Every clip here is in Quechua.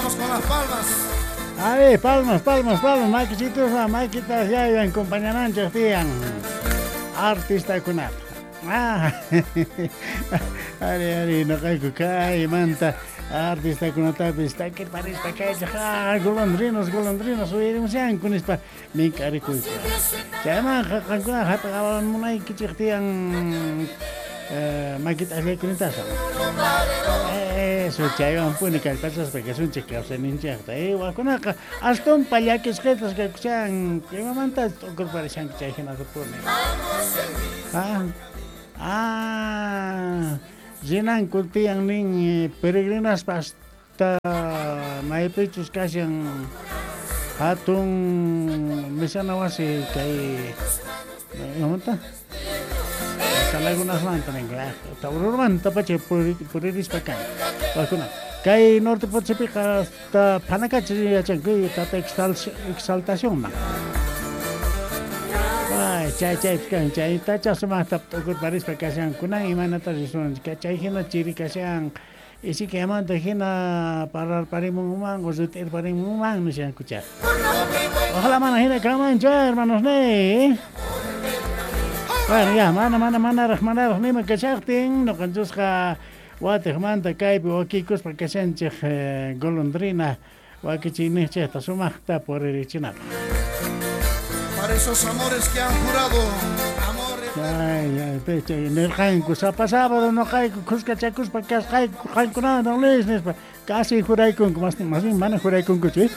Vamos con las palmas. A ver, palmas, palmas, palmas, makichitusma, makitas yayan compañananchik tiyan. Artistakunata. Ah, ari, ari, noqayku kaymanta artistakunatapis takirparispa kaychik, ah, golondrinos, golondrinos uyarimushanku nispa mink'arikuyku. Chaymanqa qankuna hap'iqamunaykichik tiyan makita akllaykunitasa. Eso, chaywanpuni kallpachaspa kasunchik kawsayninchikta. Wakunaqa astumpa llakisqatas kakushan, imamanta t'ukurparishanku chay hinatapuni. Ah, rinanku tiyan nin peregrinaspa hasta maypichus kashan hatun misana wasi kay imamanta? Lagunasmanta nin, Taururmanta pacha puririspa kan. Wakuna. Kay Norte Potosipiqa hasta Panacachi yachanku tata exaltacionman. Ay, chay chay kan chay tacha sumaqta t'ukurparispa kashankunan imaynata risunchik chay hina chiri kashan isikayamanta hina pararparimunman o rit'irparimunman nishanku chay. Ojalá mana hina kanmanchu, hermanos ne. Bueno, ya, mana, mana, manaraq, manaraq nima kashaqtin, noqanchusqa watiqmanta kaypi wakikuspa kashanchik golondrina wakichiyninchikta sumaqta puririchinapaq. Para esos amores que han jurado amor eterno. Ay, ay, pecha, nirqanku sapa sábado noqayku khuskachakuspa kasqayku qankunawan don Luis nispa casi juraykunku, más bien mana juraykunkuchu, ¿eh?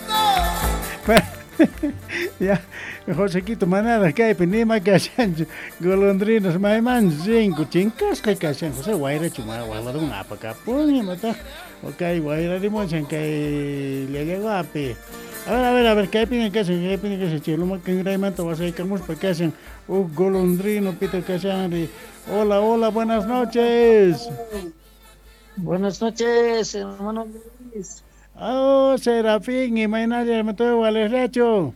Ya, Josequito, manaraq kaypi nima kashanchu golondrinos maymanchu rinku chinkasqa kashan José wayrachu waqlaruman apakapun imataq o kay wayrarimushan kay Llallaguapi. A ver, a ver, a ver, kaypiña kashan, kaypiña kashan chay luma kinraymanta wasaykamuspa kashan huk golondrino pita kashanri. Hola, hola, buenas noches. Buenas noches, hermano Luis. Oh, Serafín, imaynalla hermano Walesrachu.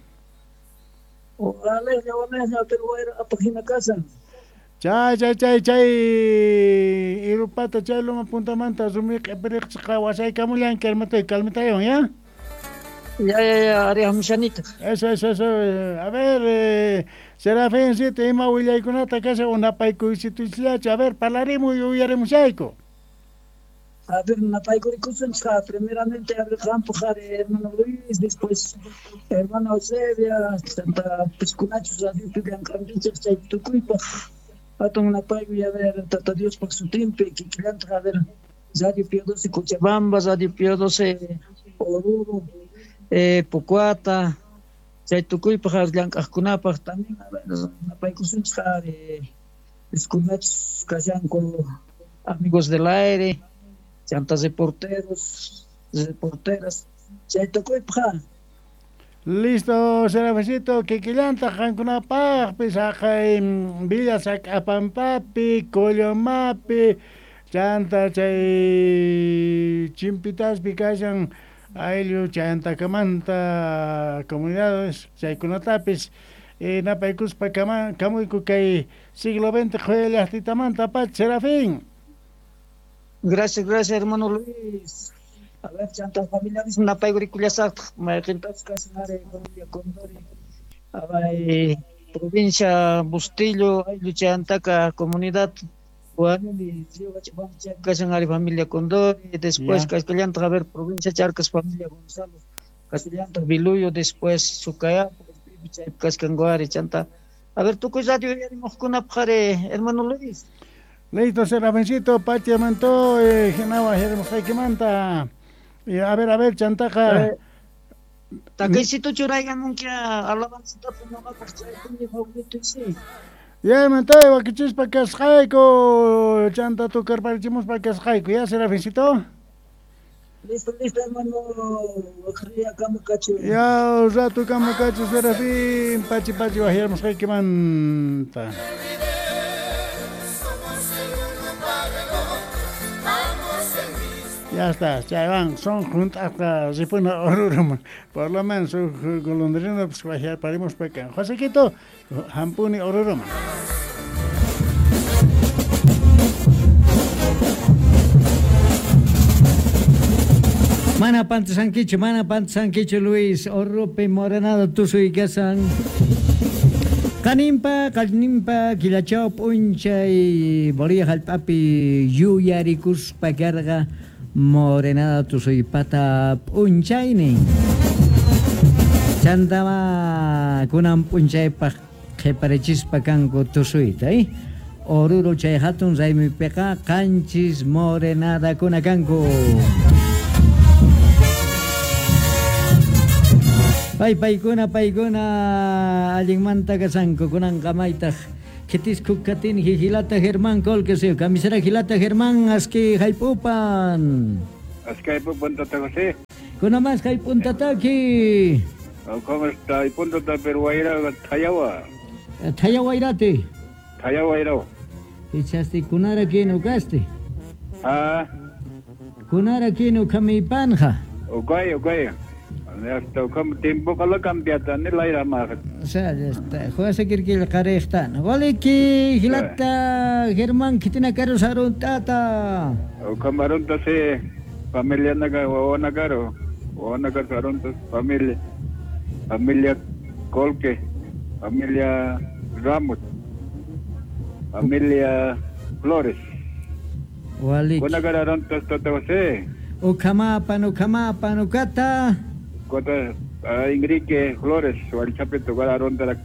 Hola, hola, pero apajina casa. Chay, chay, chay, chay, irupata chay luma puntamanta rumi q'ipiriqchiqa wasaykamullanki hermano calmitayon, ¿ya? Ya, ya, ya, arihamushanita. Eso, eso, eso. A ver, Serafincito, ima willaykunata kasha unapaykuysituchllachu. A ver, parlarimuy uyarimushayku. A ver, napaykurikusunchik primeramente a ver qampu qhari hermano Luis, después hermano Eusebia, tanta piskunachus radiopi llank'ankichik chay tukuypaq hatun napaykuy a ver Tata Diospaq sutinpi kikillantaq a ver Radio Pío XII Cochabamba, Radio Pío XII Oruro, Pocoata, chay tukuypaq llank'aqkunapaq también a ver napaykusunchik ari piskunachus kashanku amigos del aire, chantas reporteros, reporteras, chay tukuypaq. Listo, Serafecito, kikillanta qankunapaqpis haqay Villa Sac'apampapi, Collomapi, chanta chay Chimpitaspi kashan ayllu chayantakamanta comunidades chaykunatapis napaykuspa kamuyku kay siglo XX qhuyallaqtitamanta pacha, Serafín. Gracias, gracias, hermano Luis. A ver, chanta familiares napaykurikullashaqtaq mayqintachus kashan ari familia Condori, abay provincia Bustillo, ayllu chayantaka comunidad Guanuni, Río Huachapampa chaypi kashan ari familia Condori, después kashkallantaq a ver provincia Charcas familia Gonzalo, kashkallantaq Biluyo, después Sucayapo, chaypi kashkanku ari chanta. A ver, tukuy radio uyarimuqkunapaq ari, hermano Luis. Listo, Serafincito, pacha manto, hinawa hirimusqaykimanta. Y a ver, chantaqa. Takaysito churaykamunki alabanzatapas noqapaq chaypuni favorito sí. Ya, mantay, wakichispa kasqayku, chanta tukarparichimuspa kasqayku, ya, Serafincito. Listo, listo, hermano. Kamu kachu. Ya, rato kama kachu, Serafín, pachi pachi waqyarmusqaykimanta. Ya está, chaywan son junt'asqa ripuna Oruruman. Por lo menos huk golondrina pues waqyarparimuspa kan. Josequito, hampuni Oruruman. Mana pantasankichu Luis, Orurupi morenada tusuy kasan. Kanimpa, kalnimpa, killachaw p'unchay Bolivia hallp'api yuyarikuspa karqa morenada tusuypata p'unchaynin. Chantama kunan p'unchaypaq qhiparichispa kanku tusuyta, Oruro chay hatun raymipiqa qanchis morenadakuna kanku. Pay paykuna allinmanta kasanku kunanqa maytaq khitisku katin jilata Germán Colque kamisara jilata Germán aski haypupan. Aski haypupan tata José. Kuna mas haypuntataki. ¿Cómo está? Haypuntata pero wayra thayawa. Thayawa wayrati. Thayawa wayra. Ichasti kunara kinu kasti. Ah. Kunara kinu kamipanja. Okay, okay. Hasta como tiempo que lo cambiata ni la ira más. O sea, ya está. Juega seguir que el caresta. Waliki hilata Germán kitina caro saruntata. O camarón se familia naga o nagaro o nagar sarunta familia familia Colque, familia Ramos, familia Flores. Waliki. Onagaronta tata José. O kamapan ukata. Kota Enrique Flores, Walchapito, Guadaronda,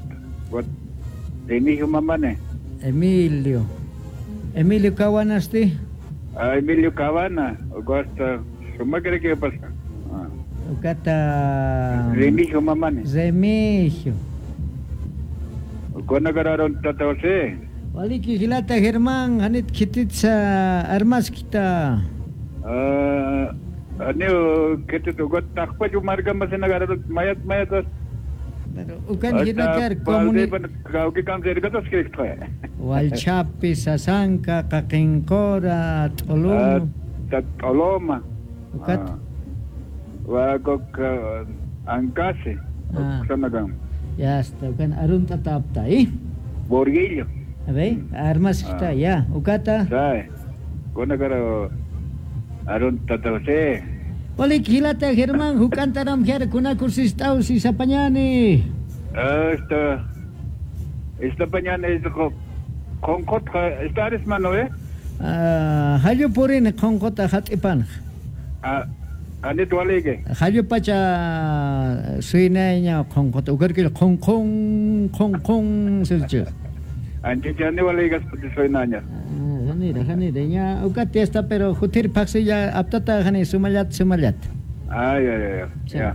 Emilio Mamane. Emilio. Emilio Cabanasti. Emilio Cabana, Augusta, ¿cómo cree que pasa? Ukata. Remigio Mamane. Remigio. Conagararon Tata José. Waliki Gilata Germán, Hanit Kititza, Armaskita. Aneo que te tocó takpachu marca más en agarrar mayat mayat. Pero ukan hinakar comuni Walchapi, Sasanka, Kakinkora, Toloma. Toloma. Ukat. Wakok Ancase. Ya está, ukan arunta tapta, ¿eh? Borguillo. A ver, armas está ya, ukata. Sai. Conagaro Arunta José. Olik hilata Germán, hukantaram jar kunakursistau si sapañani. Esta pañana es concota, esta eres mano, ¿eh? Ah, hayo purin concota hatipan. Ah, ani tualege. Hayo pacha suineña concota, ukarkil con con con con silche. Anche chani walegas suinaña. Hanira, ya ukati está pero jutir paxi ya aptata hani sumayat sumayat. Ay, ay, ay, ya.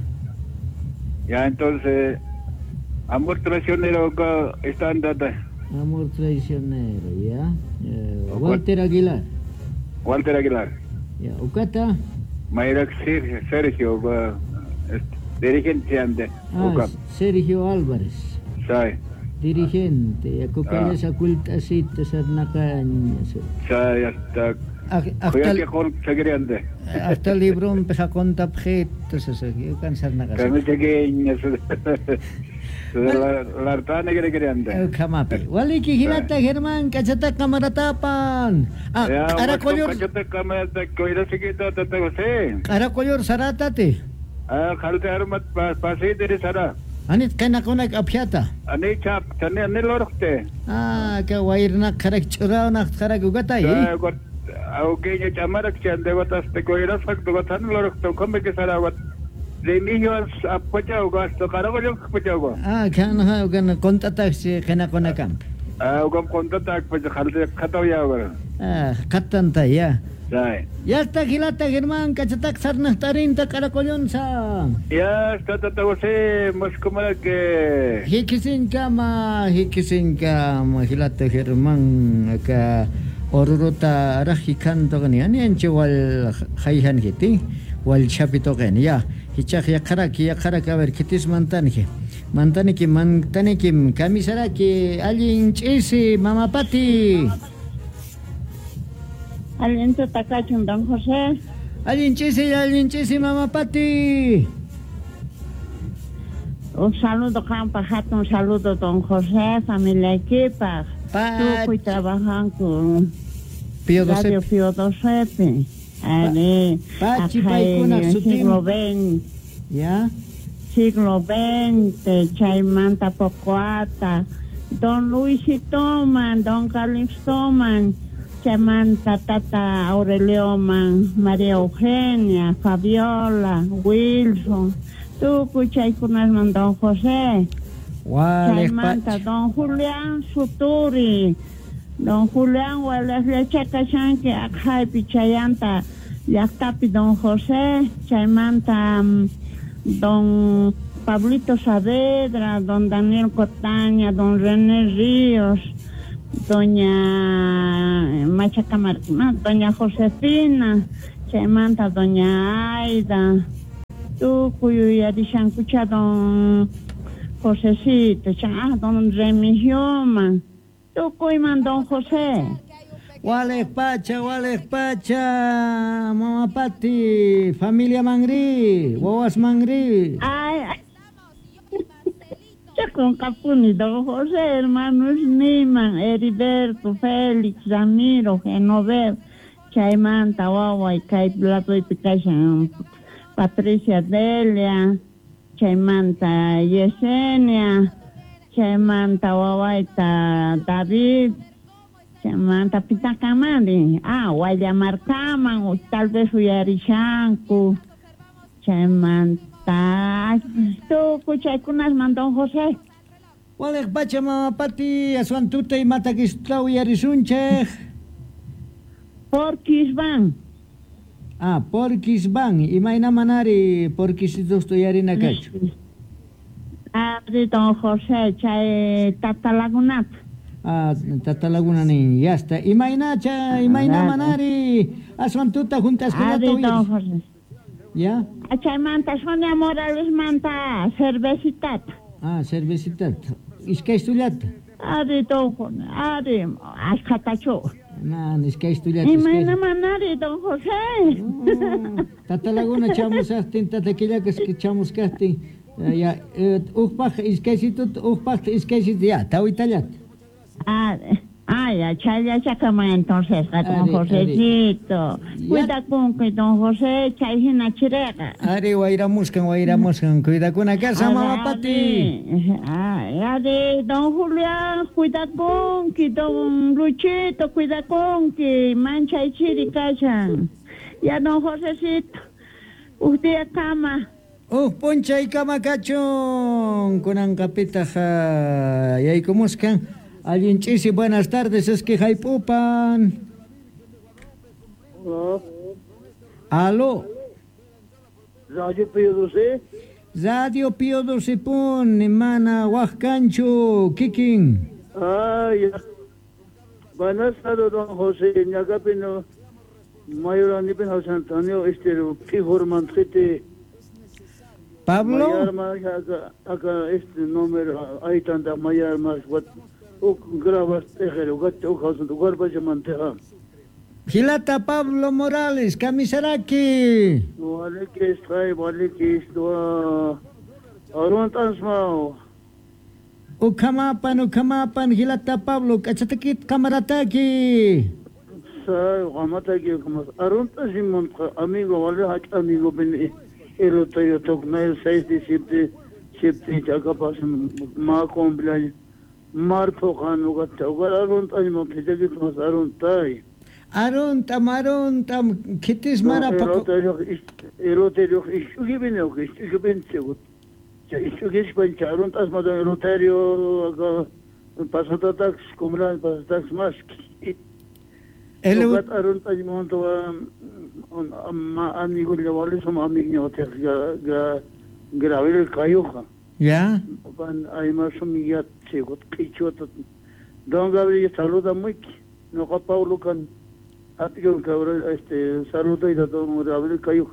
Ya entonces amor traicionero está andata. Amor traicionero, ya. Walter Aguilar. Walter Aguilar. Ya, ukata. Mayra Sergio, dirigente ande. Ah, Sergio Álvarez. Sí. Dirigente, acocales acultacita sarnacaña. Sí, hasta hasta librón peja conta objetos, eso, yo cansar nacas. La que quería Kamapi. Waliki hilata Germán, cachata camaratapan. Ah, caracollor. Caracollor saratate. Ah, jalte armat pasite sara. Anit kanakunak apyata. Ani chap, tani ani lorte. Ah, que wairna karak churauna karak ugatay. Auqueño chamarak chandegotas te coiras factogatan lorto come que saraguat. Remigio apochao gasto caragoyo apochao. Ah, kan kan contatax kanakunakam. Ah, ugam contatax pues jalte khatau ya. Ah, khatanta ya. Sí. Ya está gilata Germán, cachatak sarnahtarinta caracollonza. Ya está tata José, moscomara que Hikisinkama, hikisinkama gilata Germán acá orurota araji canto ni ani anche wal jaihan hiti wal chapito gen ya hichaj yaqaraki yaqaraki a ver kitis mantanji mantaniki mantaniki kamisaraki allin ch'isi mamapati. Allin tutakachun don José. Allin ch'isi mamapati. Un saludo qanpaq, hatun saludo don José, familia equipaq. Tukuy trabajan con Pío Doce. Radio Pío Doce. Ari. Pachi paykuna sutin. Siglo XX. Ya. Siglo XX, chaymanta Pocoata, don Luisitoman, don Calixtoman, chaymanta tata Aurelioman, María Eugenia, Fabiola, Wilson, tukuy chaykunasman don José. Chaymanta don Julián Suturi, don Julián walaqllachakashanki aqhaypi chayanta llaqtapi don José, chaymanta don Pablito Saavedra, don Daniel Cotaña, don René Ríos, doña Machacamarquima, doña Josefina, chaymanta doña Aida, tukuy yuyarishankucha don Josecito, don Remigioman, tukuyman don José. Waleq pacha, mama Pati, familia mangri, wawas mangri. Ay, con Capuni, don José, hermanos Niman, Heriberto, Félix, Ramiro, Genoveva, chaymanta, wawa, kay platoypi kashan, Patricia Delia, chaymanta, Yesenia, chaymanta, wawayta, David, chaymanta, pitakamani, Guayamarcaman, tal vez uyarishanku, chaymanta, tukuy chaykunasman don José. Waleq pacha mama Pati, aswan tuta imatakistla uyarisunchej. Porquis van. Ah, porquis van. Imayna manari porquisitos uyarina kachu. Ari don José, chay Tata Lagunata. Ah, Tata Laguna nin, ya está. Imayna cha, imayna manari aswan tuta juntaskunata Ari don José. Ya. Chaymanta Sonia Morales manta cervecitata. Ah, cervecitata. Iskaystullata. Ari don José, ari ashkhatachu. Na, iskaystullata. Imayna manari don José. Tata Laguna chamusaqtin, tata Quillakas chamusqaqtin, ya uqpaq iskaysitut, uqpaq iskaysitut, ya, tawitallata. Ya, chayllachakama entonces, don Josecito. Cuidakunki, don José, chay hina chireqa. Ari, wayramusqan, cuidakuna kasa, mama Pati. Ari, don Julián, cuidakunki, don Luchito, cuidakunki, manchay chiri kashan. Ya, don Josecito, huk día kama. Huk p'unchay kama kachun, kunanqapitaq yaykumusqan. Allin ch'isi, buenas tardes, es que haypupan. Hola. Aló. Radio Pío 12. Radio Pío 12 pun, mana waqkanchu, kikin. Ah, ya. Buenas tardes, don José, ñaqapino, mayoranipin José Antonio, pijurmanqiti. Pablo. Mayarma, acá este número, ahí tanta mayarma, grabas tejero, gato, manteja. Gilata Pablo Morales, Kamisaraki. Vale que está, vale que está. Arun. Ukamapan, ukamapan, Gilata Pablo, kachatakit kamarataki. Sa, kamataki, Arun Tansimon, amigo, vale, hach amigo, ben, elotayo tokna, 6 de septiembre, chakapas, ma cumpleaños. Marpo kanugat, arun tanimo, pitakit mas arun tay. Arun tam, kitis mara pako. Eloterio, ishugibin, ishugibin, ishugishpan, arun tas madan eloterio, pasatatax, kumran, pasatax mas. Elogat arun tanimo, ma amigo le som amigo ga gravel kayuja. Ya. Pan además ya Don Gabriel saluda muy no Paulo can atión cabrón saluda y don Gabriel cayó.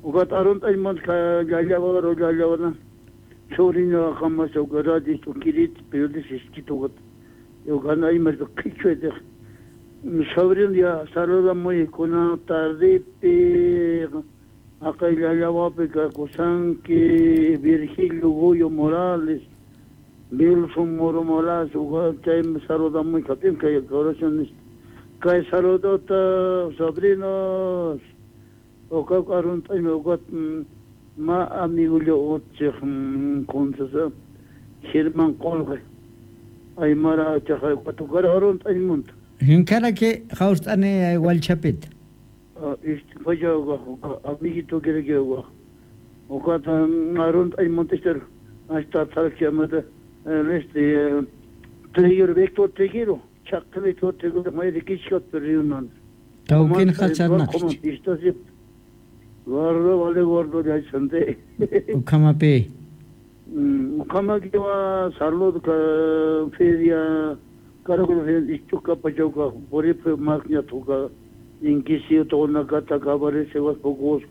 Ugat arun ay mon ka yalla ro yalla na. Sobrino jamás o garadi tu kirit pero dices que yo gana y me quicho de sobrino ya saluda muy con una tarde acá yalla va pe Kusanki Virgilio Goyo Morales Wilson Moro Morales, chay saluda muy kapin kay oraciones. Kay saludota sobrinos. Oka arun oka ma amigullo utchik kunsasa Germán Qolqe. Aymara chaqay tukar arun taymunta. Hinkaraki hawstani walchapit. Isti amiguito quiere que oka arun taymunta estar hasta tarkiamata este Triguero Víctor Triguero chaqli Triguero may rikishkat reunión. Tawkin khacharnak. Gordo vale gordo ya sante. Ukamapi. Ukamakiwa salud ka feria karako feria ichuka pachoka porip maknya tuka inkisi to nakata kabare sevas pocos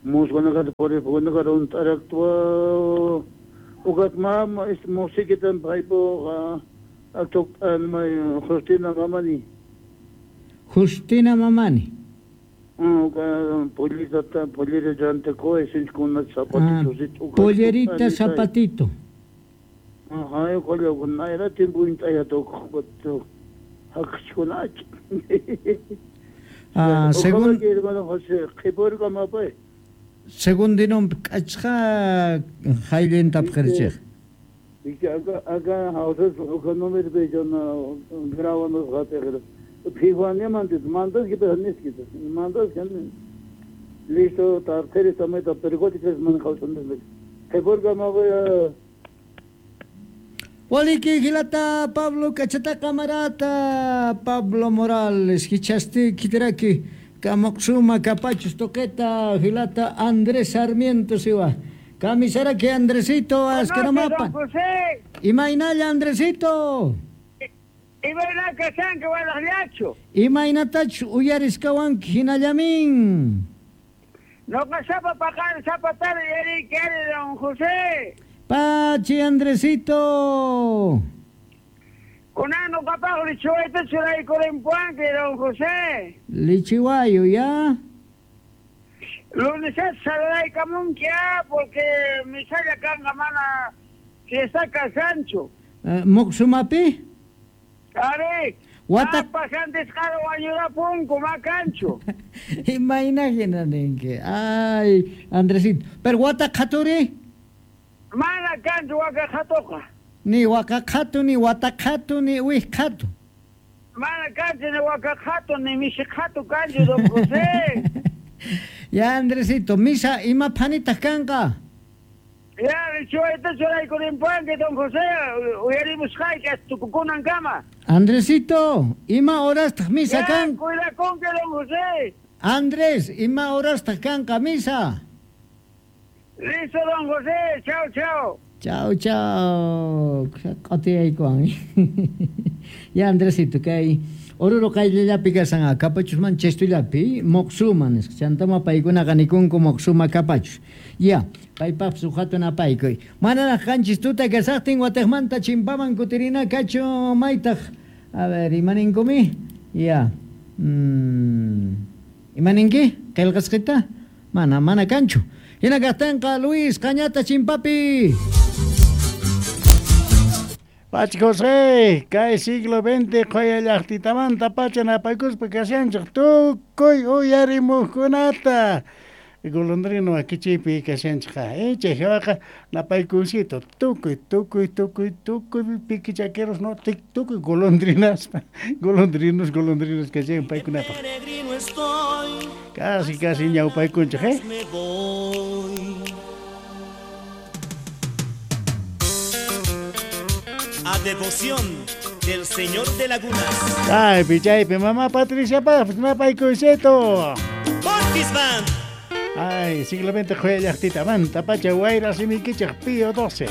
musgona ka porip gona ka un taraktua ugat mam is musikitan paipo atok Justina Mamani. Justina Mamani. Pollerita, pollerita, zapatito. Pollerita, zapatito. Ajá, Ah, según según dinom kachqa haylin tapqirchik. Acá houses economic bejana gravanos gate Fijuane mandas que pehanis mandas que listo tartere sameta pergotiques man khawsan Khiborga ma Waliki hilata Pablo kachata camarata Pablo Morales hichasti kitraki kamoxuma capachos toqueta hilata Andrés Sarmiento siwa Camisera que Andresito asqueramapa. Imainalla Andresito. Imayna kashanki walaqllachu. Imaynatach uyariskawanki hinallamin. Noqa sapa paqari sapa tarde yariyki don José. Pachi Andresito. Kunan noqapaq lichiwayta churaykurinpuanki don José. Lichiwayo ya. Lunes saludaraykamunki porque misalla kanqa mana fiesta kashanchu. Muqsumapi? Ari, wata pasantes karo wañurapunku makanchu. Imayna hina ninki. Ay, Andresito. Pero wata qhaturi? Mana kanchu waka qhatuqa. Ni waka qhatu ni wata qhatu ni wih qhatu. Mana kanchu ni waka qhatu ni mishi qhatu kanchu don José. Ya Andresito, misa ima phanitaq kanqa. Ya, lichiwayta churaykurinpuanki don José, uyarimusqayki tukukunankama. Andresito, ima horastaq misa kan? Cuidakunki don José. Andrés, ima horastaq kanqa misa? Listo don José, chao chao. Chao chao. Qatiyaykuwan. Ya Andresito, kay Oruro qayllallapi kasan kapachusman chestullapi moqsuma nisqa chantama paykunaqa nikunku moqsuma kapachus. Ya, paypaq suhatun apaykuy. Manaraq qanchis tuta kasaqtin wataqmanta chimpaman kutirina kachu maytaq. A ver, imaninkumi? Ya. Imaninki? Qillqasqita? Mana, mana kanchu. Hina kaqtinqa Luis Cañata chimpapi. Pachi José, kay siglo XX qoya llaqtitamanta pacha napaykuspa kashanchik tukuy uyarimuqkunata. Golondrino akichaypi kashanchikqa. Chay hawaqa napaykunsito tukuy tukuy tukuy tukuy piquichaqueros no tukuy golondrinaspa golondrinos golondrinos kashan paykunapaq. Casi casi ñawpaykunchik, ¿eh? A devoción del Señor de Lagunas. Ay, pichaypi, mamá Patricia Paz, napaykunsito. Portis Band. Ay, siglo XX, joya llaqtita, manta, pacha, wayra, simikichaq, Pío 12.